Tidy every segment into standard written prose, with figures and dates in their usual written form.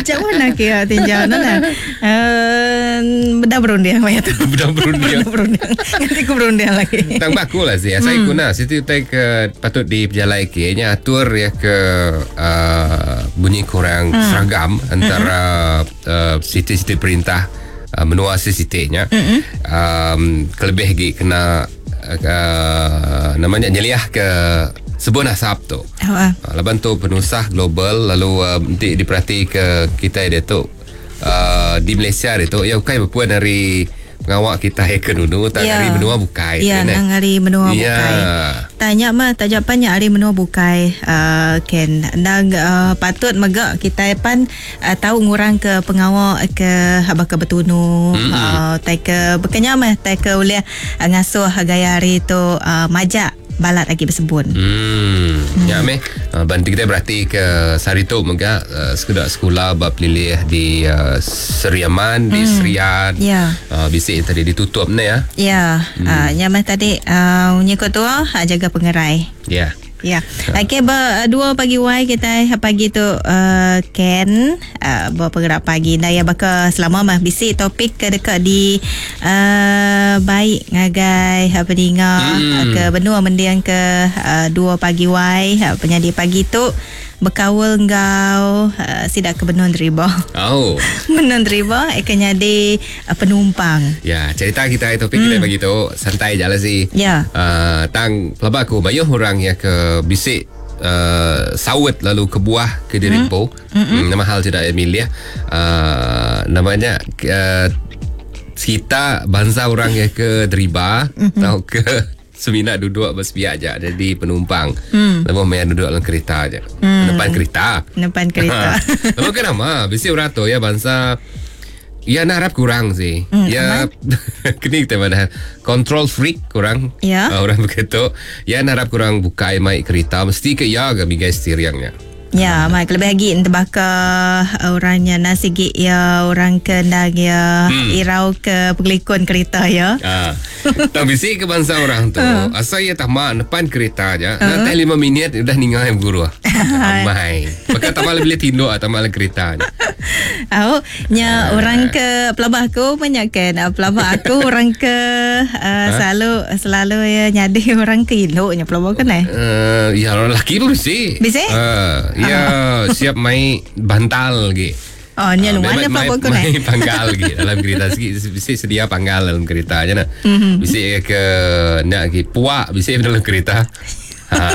Jauh nak kia tinjau nah. Eh, beda berunding maya tu. Beda berunding. Beda berunding. Nanti ku berunding lagi. Tang ba aku lah sih. Asai hmm. guna siti utai ke patut dipejalai ke nya atur ya ke uh, bunyi kurang hmm. seragam antara hmm. uh, siti-siti perintah uh, menua siti nya. Hmm. Um, kelebih lagi kena uh, namanya nyeliah ke sebun asap tu. Oh, uh. Laban tu penusah global lalu uh, enti diperhati ke kita dia tu uh, di Malaysia dia tu ya bukan berpuan dari pengawa kita ke nunu tak Ya. hari menua bukai Ya, kan, eh? nang hari menua Ya. bukai. Tanya mah taja pan nya hari menua bukai uh, ken nang uh, patut mega kita pan uh, tahu ngurang ke pengawa ke haba ke betunu mm-hmm. uh, tai ke bekenya mah tai ke ulih uh, ngasuh gaya hari tu uh, majak balat lagi bersebun. Hmm. Ya meh. Uh, bantu kita berarti ke sehari tu mega uh, sekolah sekolah bab pelilih di uh, Seriaman, di Serian. Ya. Uh, bisik yang tadi ditutup ni ya. Ya, hmm. uh, nya mah tadi uh, nyikut tua uh, jaga pengerai. Ya. Ya. Okey, ber, dua pagi wai kita pagi tu uh, Ken uh, bergerak pagi. Dah ya baka selama mah bisi topik ke dekat di uh, baik ngagai apa dinga hmm. ke benua mendiang ke uh, dua pagi wai uh, penyadi pagi tu berkawal ngau uh, sidak ke benua deriba. Oh. Benua deriba akan jadi uh, penumpang. Ya, cerita kita topik kita pagi tu santai je lah sih. Ya. Uh, tang pelaba aku banyak orang yang ke bisik uh, sawit lalu ke buah ke diri mm. Hmm, nama hal tidak Emilia. Uh, namanya uh, kita bangsa orang yang ke deriba mm-hmm. atau ke semina duduk bersepiak je jadi penumpang. Mm. Lepas main duduk dalam kereta je. Mm. Depan kereta. Depan kereta. Lepas kan nama Bisi orang tu ya bangsa Ya nak harap kurang sih. Ya kini kita pada control freak kurang. Ya. Uh, orang begitu. Ya nak harap kurang buka mai kereta mesti ke ya ke bigai steeringnya. Ya, mak lebih lagi terbakar orangnya nasi gig ya, orang kendang ya, hmm. irau ke pengelikun kereta ya. Ah. Tak bisi ke bangsa orang tu. Asal ia tak mak depan kereta aja. Nanti 5 minit udah ninggal yang guru. Amai. Maka tak malah boleh tinduk atau malah kereta aja. Au, nya orang ke pelabah aku banyak kan. Ah, Pelabah aku orang ke uh, selalu selalu ya nyadi orang ke induknya pelabah kan eh. Uh, ya orang lelaki pun bisi. Bisi? Uh, ya siap main bantal lagi. Oh, nya Ah, luar memang nya pelabah aku main, eh. main panggal lagi dalam kereta sikit bisi sedia panggal dalam kereta je nak. Mhm. Bisi ke nak lagi puak bisi dalam kereta. Ha.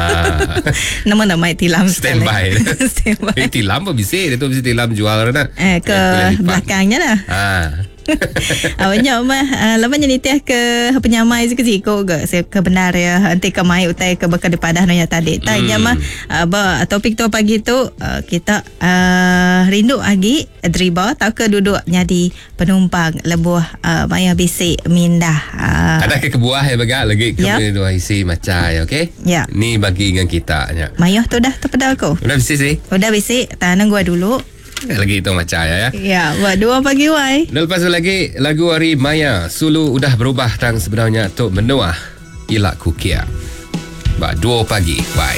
Nama nak main tilam Stand sekali. by. Stand by. Eh, tilam pun bisi dia tu bisi tilam jual nak. Eh, ke belakangnya lah. Ha. Awaknya mah uh, lepas ni nitiah ke penyamai sikit-sikit ke saya ke benar ya nanti ke mai utai ke bekal dipadah nonya tadi. Tanya mah uh, ba topik tu pagi tu uh, kita uh, rindu lagi deriba tau ke duduk jadi penumpang lebuh uh, maya bisik mindah. Uh, Ada ke kebuah ya bagak lagi ke Yap. dua isi macam ya okey? Ya. Ni bagi dengan kita nya. Mayuh tu dah terpedal aku. Udah bisi sih. Udah bisik, tahan gua dulu. Lagi itu macam ya. ya. Ya, buat dua pagi wai. Dan lepas tu lagi lagu hari Maya Sulu udah berubah tang sebenarnya tok menuah ilak kukia. Ba 2 pagi. Bye.